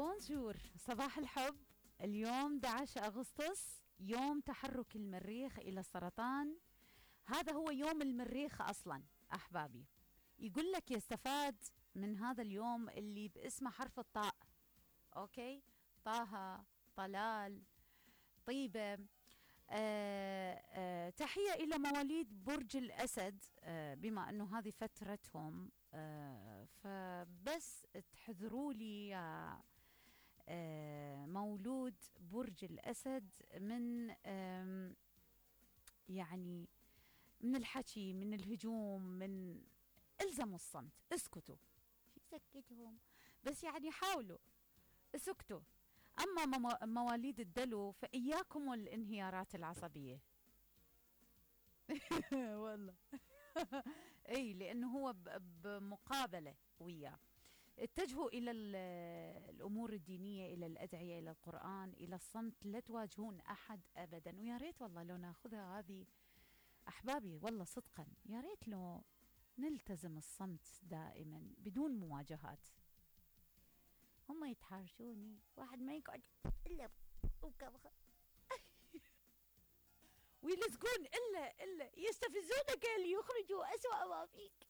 بونجور، صباح الحب. اليوم 11 أغسطس، يوم تحرك المريخ إلى السرطان. هذا هو يوم المريخ أصلا أحبابي. يقول لك يستفاد من هذا اليوم اللي باسمه حرف الطاء. أوكي، طه، طلال، طيبة. تحية إلى مواليد برج الأسد، بما أنه هذه فترتهم. فبس تحذروا لي يا مولود برج الأسد من يعني من الحكي، من الهجوم، من الزموا الصمت، اسكتوا. سكتهم بس، يعني حاولوا اسكتوا. أما مواليد الدلو فإياكم والانهيارات العصبية. والله. اي، لانه هو بمقابله وياه. اتجهوا الى الامور الدينيه، الى الادعيه، الى القران، الى الصمت. لا تواجهون احد ابدا. ويا ريت والله لو ناخذها هذه احبابي، والله صدقا يا ريت لو نلتزم الصمت دائما بدون مواجهات. هم يتحاشوني، واحد ما يقعد الا ويلزقون الا يستفزونك ليخرجوا اسوأ ما فيك.